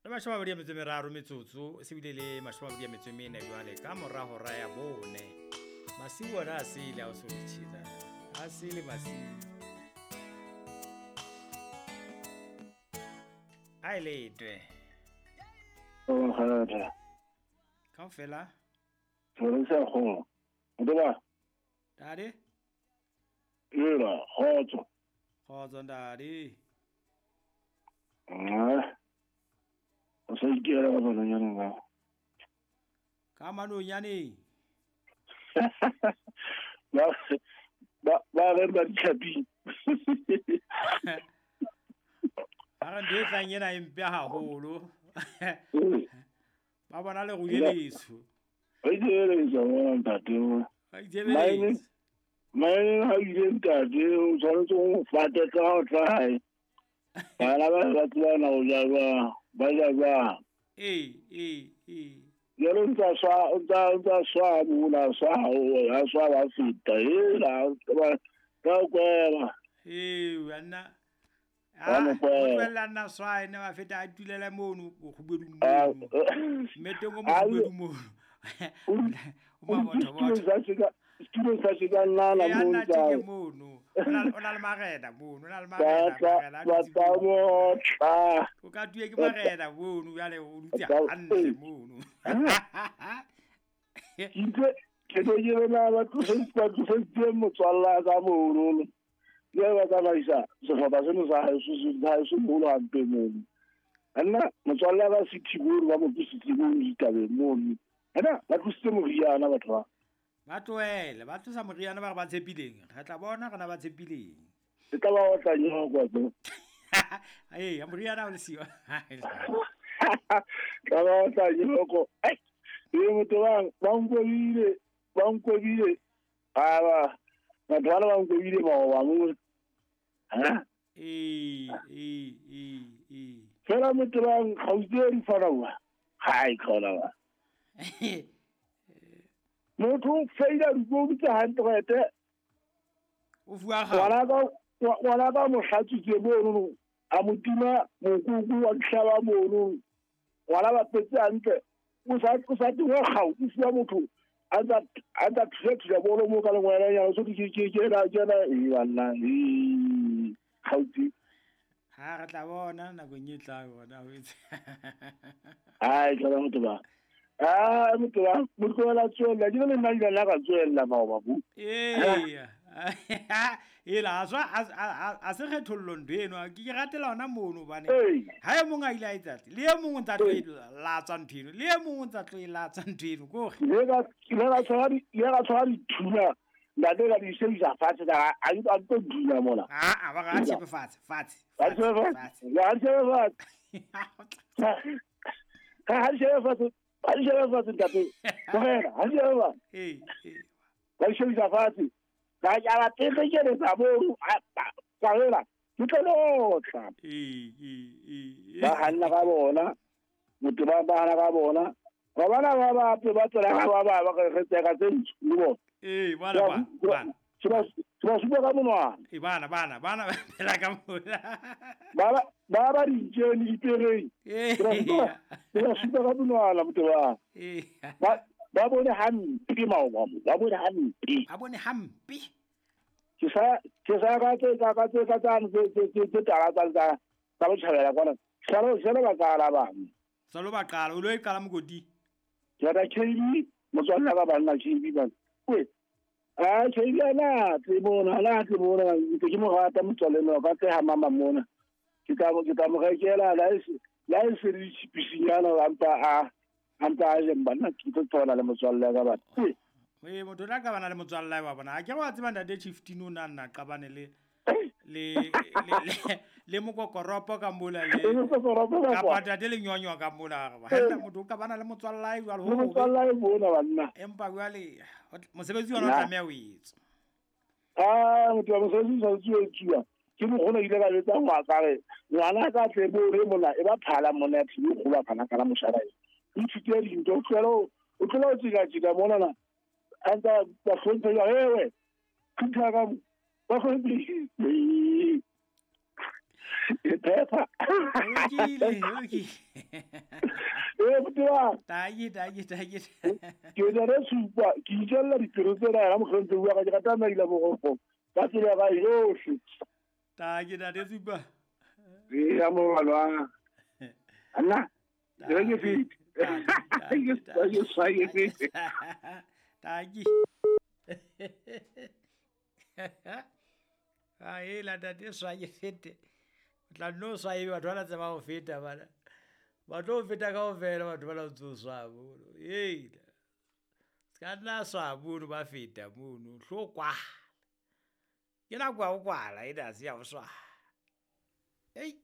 Le 23 metsotso se bile le 24 jwale ka mora hora ya 4. Masiu ona a sele a o so tjhina. A sele masiu. A ile twe. O kgotsa. Kaofela. Re sa go. Ndoba. Dade? Ela, kgotso. Kgotso ndade. Ah. O sa ikela ka manonyaneng ao. Ka manonyaneng? Ba re ba ditlhaping. Ba re ntho e tlang ena e mpe haholo. Ba bona le rule leso. Ba itsebeletsa bona ntate. Ba itsebeletsa. Maine ha ile ntate o tshwanetse o fate ka ho tla hae. Bana ba ba tsebana ho ja jwang. Ba ja jwang. Ee. Jalo ntsa swa mona swa ha swa ba feta. Hela ba kwela. Ee wena. Ah, o nna swa ene ba feta a tulela mono go kgubedung mono. Mmeteng o mo kgubedung mono. O ma botho botho. Studio sa se ka nna la mono. Ya nna mono. O na le marena mono, o na le marena. Ba tla motla. O ka tuye ke marena mono jwale o dutse hantle mono. Ke tlo ke bona ba tlosetse motswalla ka mono. Le ba tsamaisa sehlopha seno sa haeso mono hampe mono. Nna motswalla ba Sithiburu ba mo tlositse mono ditabeng mono. Nna ba tlositse moriana batho ba. Ba tlohele, ba tlosa moriana ba re ba tshepileng. Re tla bona rena ba tshepileng. E tla ba otla nyoko tse. Ee, moriana o le siyo. Tla ba otla nyoko. Ai, motho ba nkwebile. Aba, batho bana ba nkwebile maoba mo. Ha? Ee. Fela motho ba gautse di farawa. Hai khona ba. Motho feila dikobo tsa hantle ete. O fuwa ga. Ngwana ka mo hlatsitse mono a mo tima mokuku wa tlhaba mono. Ngwana ba petse hantle. O sa tingwa gau o fuwa motho a tsa thusa bolo mo ka lengwela ya so ke na e banna e gautse. Ha re tla bona nakong e tlang bona o itse. Ai tla motho ba. Ah, motho ba motho la tswella di le nna di la ka tswella maoba bo. Ee. Ela a a se kgethollo ntho eno ke ratela ona mono bane. Ha e mong a ile a etsa le e mong o ntsa tlo e latswa ntho eno le e mong o ntsa tlo e latswa ntho eno ko re. Le ka tshwara dithunya ntate ka di sebedisa fatshe ka a tlo dula mona. Ah, ba ga tshepe fatshe. Ha tshepe fatshe. Ha di shebe fatshe ntate. Tlogela, ha di shebe fatshe. Ee. Ba di shebisa fatshe. Ka ya ba tekeletsa mono. Ka hela, ke tlo lotla. Ee. Ba hanna ka bona. Motho ba hana ka bona. Ba bana ba ba pe ba tsela ka ba re tseka tse ntsu le bona. Ee, bana ba. Se ba supa ka monwana. Ee, bana phela ka mona. Ba ditjeni dipereng. Ee. Se ba supa ka monwana motho ba. Ee. Ba bone hampe maoba mo. Ba bone hampe. Ba bone hampe. Ke sa ka tse tse tala tsa tsa botjhabela kwana. Salo ba qala ba. Salo ba qala o lo e qala mokoti. Ke ra KB motswalla ba banna KB ba. We. Ah, KB ana tle bona ke mo rata motswalle no ka tse ha mama mona. Ke tla mo rekela la e se re tshipisinyana ampa a je bana ke tlo tsona le motswalle ka ba. Ee, motho la ka bana le motswalle wa bona. A ke wa tseba ntate Chief Tino na nna qabane le mokokoropo ka mola le kapa ntate le nyonywa ka mola ba ha motho ka bana le motswalle jwalo ho motswalle bona banna. Empa jwale mosebetsi ona o tlameha o etswa. Ah, motho wa mosebetsi o tshwanetse o etsuwa. Ke mokgona ile ka jwetsa ngwana re ngwana ka tle bo re mona e ba phala mona ya thibi kgolo phana ka la moshara e. O ithute dintho o tlohela o tsika mona na. A ntsa ba hlomphe ya ewe. Khutla ka ba hlomphe. E phepa. Lokile. Ee, botewa. Taki taki taki. Ke na le supa, ke itjella dipelo tsena yena mokgentse wa ka, ke rata maila boroko. Ka tsela ya ka yohle. Taki ntate Supa. Ee, ya morwalo. Anna, ke re ke fete. Ke swaye fete. Taki. A ela ntate swaye fete. O tla nno swaye batho ba la tseba ho feta bana. Ba tlo feta kaofela batho ba la ntso swaya mono. Ee. Se ka nna swaya mono ba feta mono. Hlo kwala. Ke nako ya ho kwala ena ha se ya ho swaya. Ei.